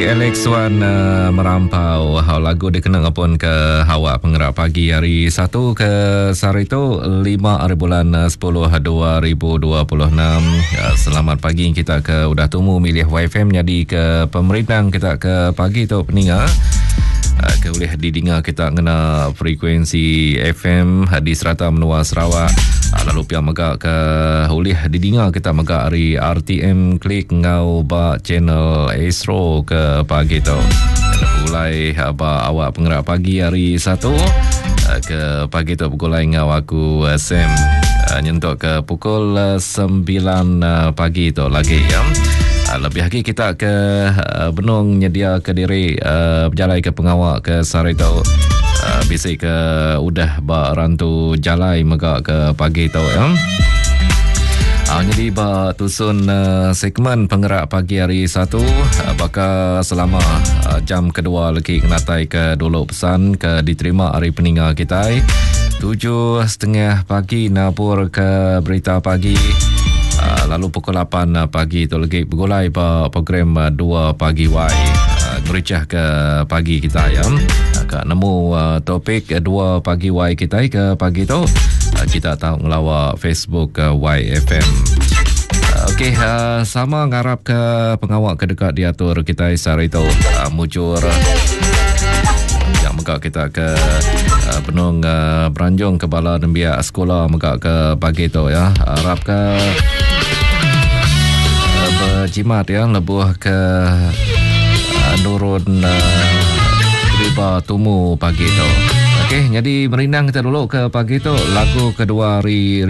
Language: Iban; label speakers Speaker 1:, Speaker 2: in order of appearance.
Speaker 1: Alex Wan Merampau lagu dikena ngepun ke awak pengerak pagi hari Satu ke sehari tu 5 hari bulan 10 2026. Selamat pagi kita ke udah tumu milih YFM nyadi ke pemerindang kita ke pagi tu peninga ke ulih didinga kita ngena frekuensi FM di serata menua Sarawak lalu pia mega ke ulih didinga kita mega ari RTM Klik enggau ba channel Astro ke pagi tu. Begulai ba awak pengerak pagi hari Satu ke pagi tu begulai enggau aku Sam nyentuk ke pukul 9 pagi tu lagi ya. Lebih lagi kita ke benung nyedia ke diri bejalai ke pengawa ke sehari tu. Bisi ke udah ba rantu jalai mega ke pagi tu ya. Nyadi ba tusun segmen pengerak pagi hari Satu baka selama jam kedua legi ngenatai ke dulu pesan ke diterima ari peninga kitai. 7.30 pagi nabur ke berita pagi lalu pukul 8 pagi tu legi begulai ba program 2 pagi Y ngericah ke pagi kita ya. Ka nemu topik 2 pagi Y kitai ke pagi tu kita tau ngelawa Facebook YFM. Okey, sama ngarap ke pengawa ke deka diatur kitai sehari tu mujur. Yang mega kita ke benung beranjung ke bala nembiak sekolah mega ke pagi tu ya. Harap ke berjimat ya lebuh ke nurun riba tumu pagi tu. Okey, jadi merindang kita dulu ke pagi tu lagu kedua hari.